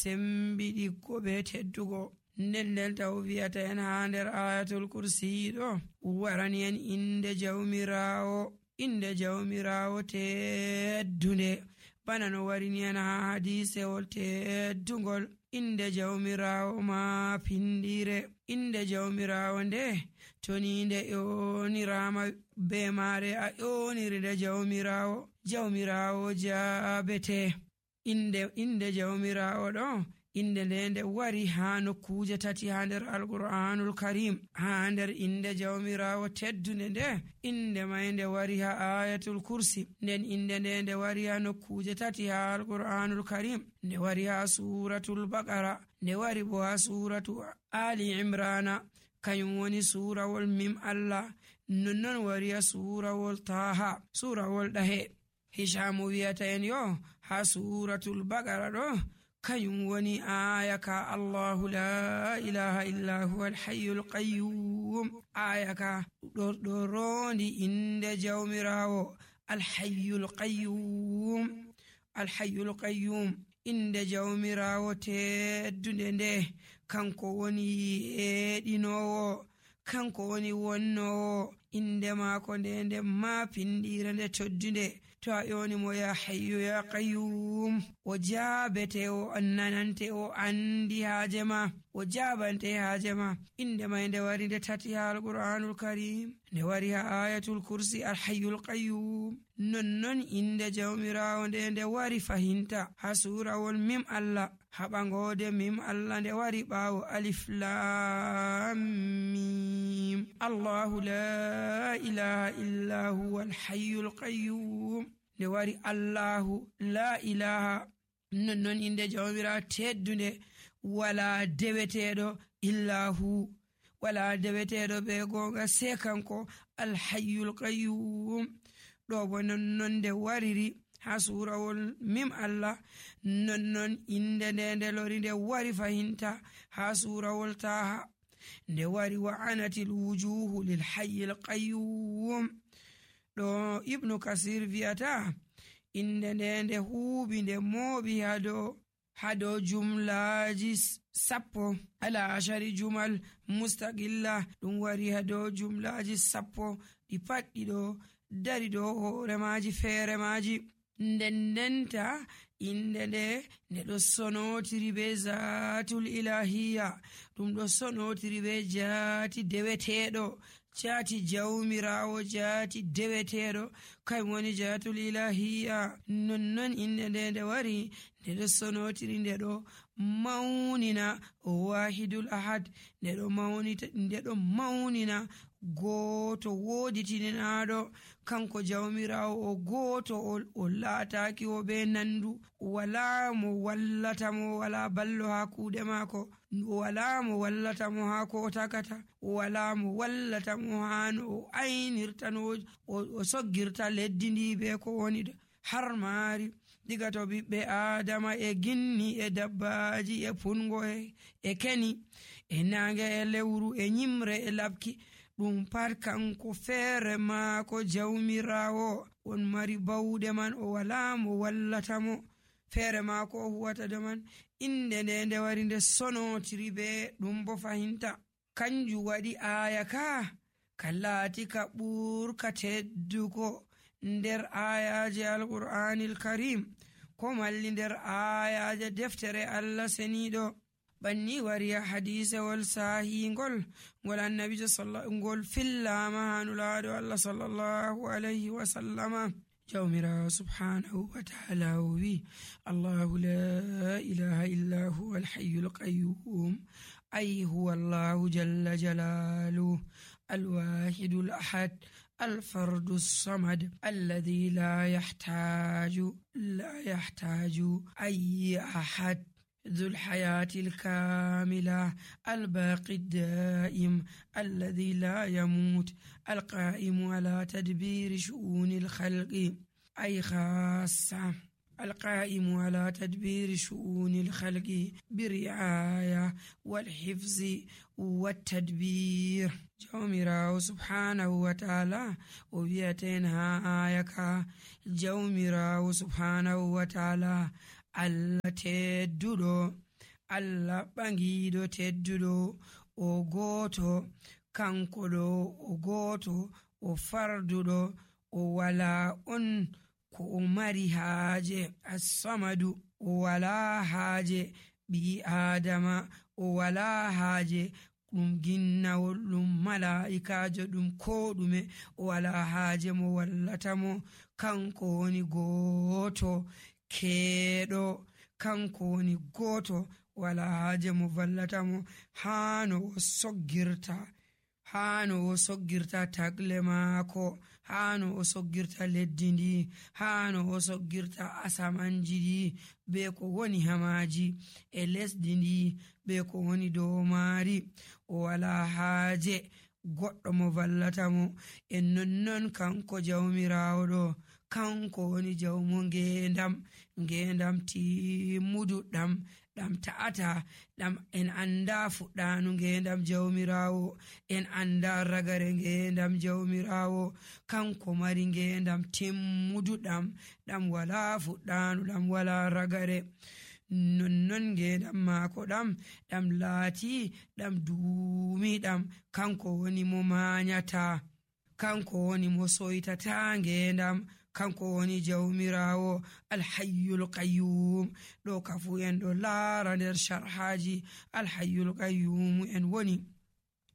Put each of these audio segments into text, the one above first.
sembiɗiggo be teddugo. nden taw wi'ata en ha nder ayatul kursi ɗo warani en inde jawmirawo teddunde, bana no warini en ha hadisewol teddugol. inde jawmirawo ma pindire. inde jawmirawo nde toni nde ƴonirama be mare a ƴoniri nde jawmirawo jabete. inde jawmirawo ɗo inde nde wari ha nokkuje tati ha nder alqur'anul karim. ha nder inde jawmirawo teddunde nde inde may nde wari ha ayatul kursi, nden inde nde wari ha nokkuje tati ha alqur'anul karim. nde wari ha suratul baqara, nde wari bo ha suratu ali imrana, kanyum woni surawol mim Allah. nonnon wari ha surawol taha, surawol ɗahe. hishamu wiyata en yo ha suratul baqara ɗo kanyum woni aya ka Allahu la ilaha illa huwa al-hayyul qayyum. aya ka ɗo rondi inde jawmirawo al-hayyul qayyum. inde jawmirawo teddunde nde kanko woni yeɗinowo, kanko woni wonnowo. inde maako nde ma pindire nde toddunde. to a ƴoni mo ya hayyu ya qayyum, o jabete, o nanante, o andi haaje ma, o jabante haaje ma. inde may nde wari nde tati ha alqur'anul karim, nde wari ha ayatul kursi al-hayyul qayyum. nonnon inde jawmirawo nde wari fahinta ha surawol mim Allah, haɓangode mim Allah nde wari ɓawo alif lam mim. Allahu la ilaha illa huwa al-hayyul qayyum. nde wari Allahu la ilaha. nonnon inde jawmirawo teddunde wala deweteɗo illa hu, wala deweteɗo be gonga se kanko al-hayyul qayyum. ɗo bo nonnon nde wariri ha surawol mim Allah. nonnon inde nde lori nde wari fahinta ha surawol taha, nde wari wa anatil wujuhu lil hayyil qayyum. ɗo ibnu kasir viyata inde nde huubi nde mooɓi hado jumlaji 10 ala ashari jumal mustaqilla. ɗum wari hado jumlaji 10 ɗi paɗɗi ɗo dari ɗo hoore maji feere maji. ndenta inde nde ɗo sonotiri be zatul ilahiya, ɗum ɗo sonotiri be jaati deweteɗo, jaati jawmirawo, jaati deweteɗo, kay woni jatul ilahiya. nonnon inde nde wari nde ɗo sonotiri, nde ɗo mawnina wahidul ahad, nde ɗo mawnina goto woditinaɗo, kanko jawmirawo o goto o laataki o be nandu. wala mo wallata mo, wala ballo ha kuuɗe maako, wala mo wallata mo ha ko o takata, wala mo wallata mo ha no o aynirta, no o soggirta leddi ndi be ko woni har maari, diga to ɓiɓɓe adama e ginni e dabbaji e pungo e keni e nange e lewru e nyimre e labki. ɗum pat kanko feere maako jawmirawo on mari bawɗe man, o wala mo wallata mo, feere maako o huwata de man. inde nde wari nde sonotiri be ɗum bo fahinta. kanjum waɗi aya ka laati ka ɓurka teddugo nder ayaje alqur'anil karim, ko malli nder ayaje deftere Allah seniɗo. banni wari hadisewol sahingol ngol annabijo ngol fillama hanulaɗo Allah sallallahu alayhi wa sallama. jawmirawo subhanahu wa ta'ala o wi Allahu la ilaha illa huwa al-hayyul qayyum, ay huwa Allahu jalla jalaluhu al-wahidul ahad الفرد الصمد الذي لا يحتاج أي أحد، ذو الحياة الكاملة الباقي الدائم الذي لا يموت، القائم على تدبير شؤون الخلق، أي خاصة القائم على تدبير شؤون الخلق برعاية والحفظ والتدبير. jawmirawo subhanahu wa ta'ala o wiyaten ha ayaka jawmirawo subhanahu wa ta'ala Allah tedduɗo Allah ɓangiiɗo tedduɗo o gooto, kanko ɗo o gooto o farduɗo o wala on ko o mari haaje. As-samadu o wala haaje ɓii aadama, o wala haaje ɗum ginnawol, ɗum mala'ikajo, ɗum ko ɗume, o wala haaje mo wallata mo. Kanko woni gooto keeɗo, kanko woni gooto wala haaje mo vallata mo. Haano o soggirta tagle maako, haano o soggirta leddi ndi, haano o soggirta asamanji ɗi be ko woni hamaji e lesdi ndi be ko woni dow maari. O wala haaje goɗɗo mo vallata mo. En nonnon kanko jawmirawo ɗo, kanko woni jawmo ngendam timmuduɗam, ɗam ta'ata, ɗam en anda fuɗɗanu ngendam jawmirawo, en anda ragare ngendam jawmirawo. Kanko mari ngendam timmuduɗam, ɗam wala fuɗɗanu, ɗam wala ragare. Nonnon ngendam maako ɗam laati ɗam duumiɗam. Kanko woni mo manyata, kanko woni mo soytata ngendam, kanko woni jawmirawo alhayyul qayyum. ɗo kafu en ɗo laara nder sharhaji alhayyul qayyum en woni.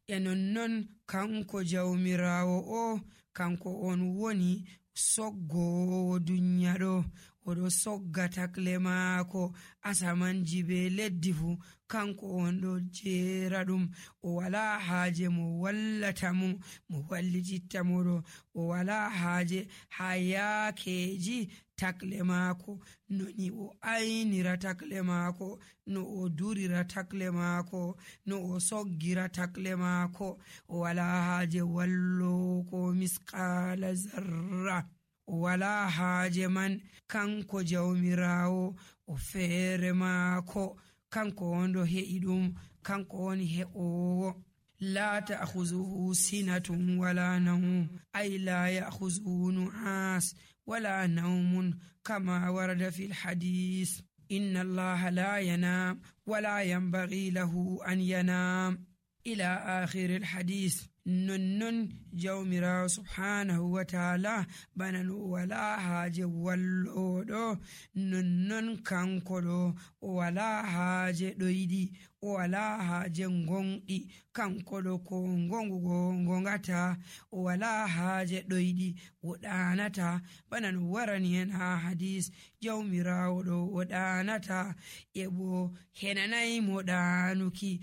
E nonnon kanko jawmirawo o, kanko on woni soggowo dunya ɗo, oɗo sogga takle maako asamanji be leddi fu, kanko on ɗo jeera ɗum. O wala haaje mo wallata mo, mo wallititta mo ɗo, o wala haaje ha yaakeji takle maako, no ni o aynira takle maako, no o durira takle maako, no o soggira takle maako. O wala haaje wallo ko misqala zarra, o wala haaje man. Kanko jawmirawo o feere maako, kanko wonɗo he'i ɗum, kanko woni he'owo. la ta'khuzuhu sinatun wala nawm, ay la ya'khuzuhu nu'as wala nawmun kama warada fil hadith. inna allaha la yanam wala yanbaghi lahu an yanam ila akhir al hadith. nonnon jawmirawo subhanahu wa ta'ala bana no wala haaje walloɗo, nonnon kanko ɗo o wala haaje ɗoyɗi, o wala haaje gonɗi, kanko ɗo ko gongugo gongata, o wala haaje ɗoyɗi, o ɗanata. bana no warani en ha hadis, jawmirawo ɗo o ɗanata, e bo henanayi mo ɗanuki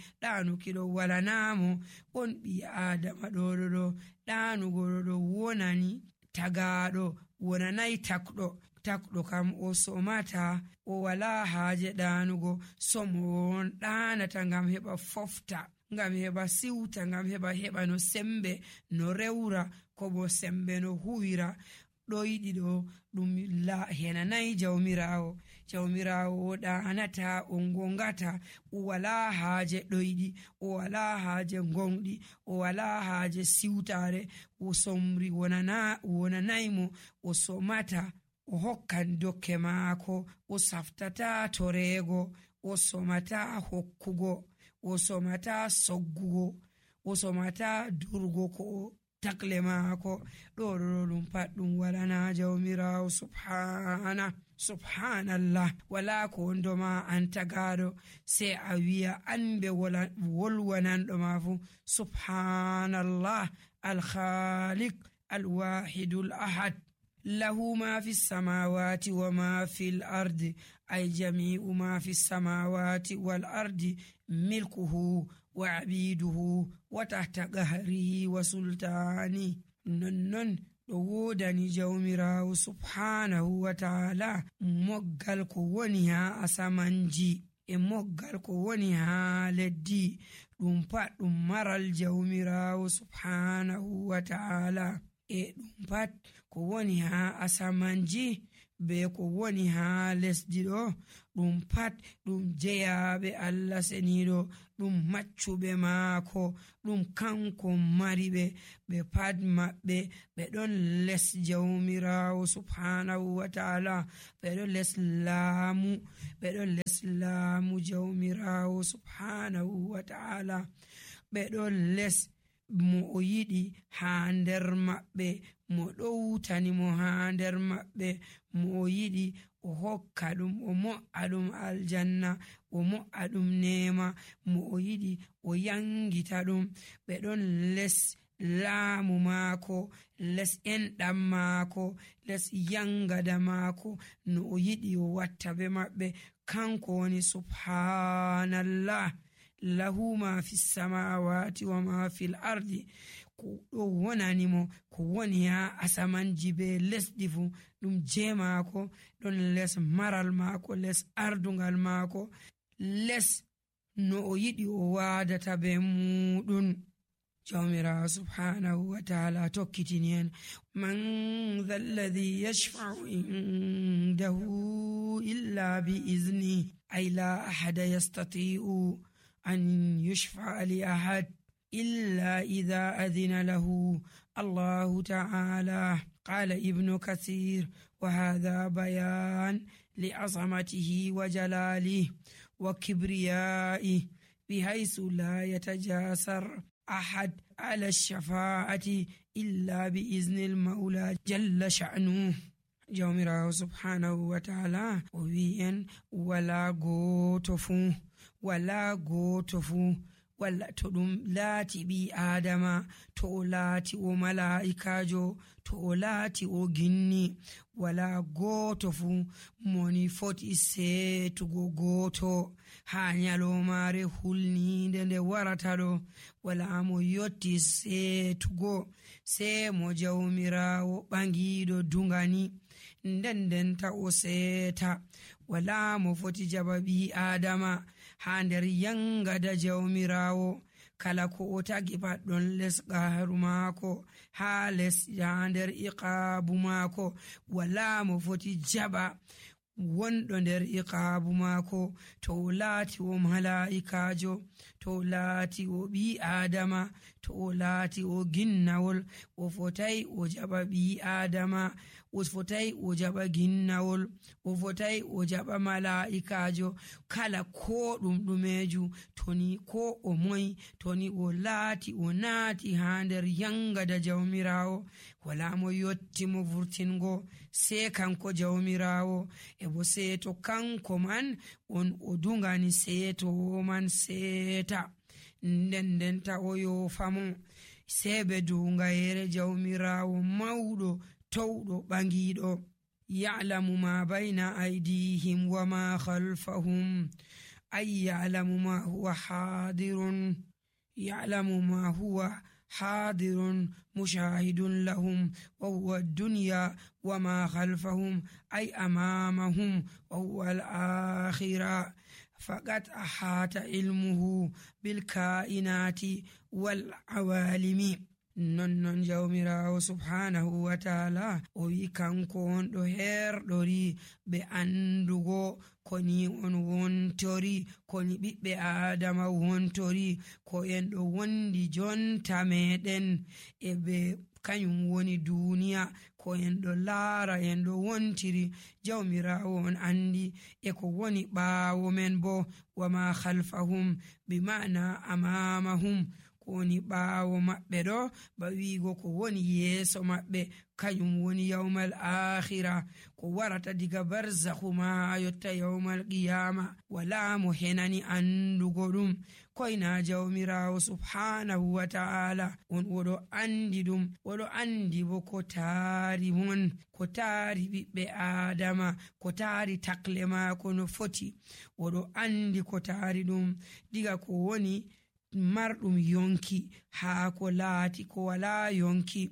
ɗo walanamo. on ɓi adama ɗo ɗanugo ɗo wonani tagaɗo, wonanayi takɗo kam o somata, o wala haaje ɗanugo. somo on ɗanata ngam heɓa fofta, ngam heɓa siwta, ngam heɓa no sembe no rewra, ko bo sembe no huwira. ɗoyɗi ɗo ɗum henanayi jawmirawo o ɗanata, o gongata, o wala haaje ɗoyɗi, o wala haaje gonɗi, o wala haaje siwtare. o somri wonanaymo, o somata, o hokkan dokke maako, o saftata torego, o somata hokkugo, o somata soggugo, o somata durgo ko takle maako. ɗo ɗum pat ɗum walana jawmirawo subhanallah. wala ko ndoma an tagaɗo sai a wiya an be wolwananɗo ma fu subhanallah al-khaliq al-wahidul ahad. lahu ma fi samawati wa ma fil ardi, ay jami'u ma fi samawati wal ardi milkuhu wa abiduhu wa tahta qahrihi wa sultani. nonnon ɗo wodani jawmirawo subhanahu wa ta'ala moggal ko woni ha asamanji e moggal ko woni ha leddi, ɗum pat ɗum maral jawmirawo subhanahu wa ta'ala. e ɗum pat ko woni ha asamanji be ko woni haa lesdi ɗo ɗum pat ɗum jeyaɓe Allah seniɗo, ɗum maccuɓe maako, ɗum kanko mari ɓe pat maɓɓe ɓe ɗon les jawmirawo subhanahu wa ta'ala, ɓe ɗon les laamu, ɓe ɗon les laamu jawmirawo subhanahu wa ta'ala, ɓe ɗon les mo o yiɗi haa nder maɓɓe, mo ɗowtani mo haa nder maɓɓe, mo o yiɗi o hokka ɗum, o mo'a ɗum aljanna, o mo'a ɗum nema, mo o yiɗi o yangita ɗum. ɓe ɗon les laamu maako, les enɗam maako, les yangada maako, no o yiɗi o watta be maɓɓe. Kanko woni subhanallah, lahu ma fi samawati wa ma fil ardi. ko ɗo wonani mo ko woni ha asamanji be lesdi fu ɗum je maako, ɗon les maral maako, les ardungal maako, les no o yiɗi o wadata be muɗum. jawmirawo subhanahu wa ta'ala tokkitini en, man dha alladhi yashfa'u indahu illa bi izni, ay la ahada yastati'u an yushfa'a li ahad إلا إذا أذن له الله تعالى. قال ابن كثير: وهذا بيان لعظمته وجلاله وكبريائه، بحيث لا يتجاسر أحد على الشفاعة إلا بإذن المولى جل شأنه. jawmirawo subhanahu wa ta'ala o wi en wala goto fu walla to ɗum laati ɓi adama, to o laati o mala'ikajo, to o laati o ginni, wala goto fu moni foti seetugo goto ha nyalomare hulninde nde warata ɗo, wala mo yotti seetugo se mo jawmirawo ɓangiɗo dungani, ndendenta o seeta. wala mo foti jaba ɓi adama ha nder yangada jawmirawo, kala ko o tagi pat ɗon les qaharu maako, ha nder iqabu maako. wala mo foti jaba wonɗo nder iqabu maako, to o laati o mala'ikajo, to o laati o ɓi adama, to o laati o ginnawol, o fotai o jaba ɓi adama, o fotai o jaba ginnawol, o fotai o jaba mala'ikajo. kala ko ɗum ɗumeju, toni ko o moyi, toni o laati o naati ha nder yangada jawmirawo, wala mo yotti mo vurtingo se kanko jawmirawo. e bo seeto kanko man on o dungani seeto man seeta, ndendenta o yofamo se be dungayere jawmirawo mawɗo towɗo ɓangiɗo. ya'lamu ma bayna aydihim wa ma khalfahum, ay ya'lamu ma huwa hadirun, ya'lamu ma huwa hadirun mushahidun lahum, wa huwa ad-dunya wa ma khalfahum ay amamahum, wa huwa al-akhirah. faqad ahata ilmuhu bil kainati wal awalimi. non jawmirawo subhanahu wa ta'ala o wi kanko on ɗo herɗori be andugo koni on wontori, koni ɓiɓɓe adama wontori, ko en ɗo wondi jonta meɗen e be kanyum woni duniya, ko en ɗo laara en ɗo wontiri. jawmirawo on andi e ko woni ɓaawo men bo, wa ma khalfahum bi ma'na amamahum, ko woni ɓaawo maɓɓe ɗo ba wiigo ko woni yeeso maɓɓe, kañum woni yawmal akhira, ko warata diga barzakhu ma yotta yawmal qiyama. wala mo henani andugo ɗum koyna jawmirawo subhanahu wa ta'ala on oɗo andi ɗum, oɗo andi bo ko taari mon, ko taari ɓiɓɓe adama, ko taari takle maako no foti, oɗo andi ko taari ɗum diga ko woni marɗum yonki haa ko laati ko wala yonki,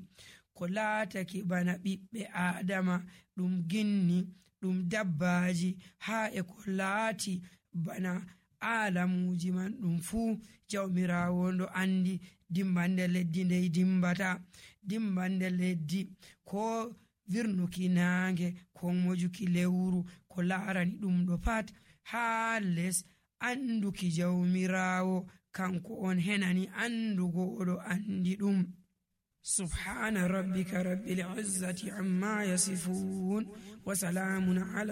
ko laatake bana ɓiɓɓe adama, ɗum ginni, ɗum dabbaji, haa e ko laati bana alamuji man ɗum fuu jawmirawo ndo andi. dimbande leddi ndey dimbata, dimbande leddi ko virnuki naange ko mojuki lewru ko laarani ɗum ɗo pat haa les anduki jawmirawo kanko on henani andugo oɗo andi ɗum. subhana rabbika rabbil izzati amma yasifun wa salamun ala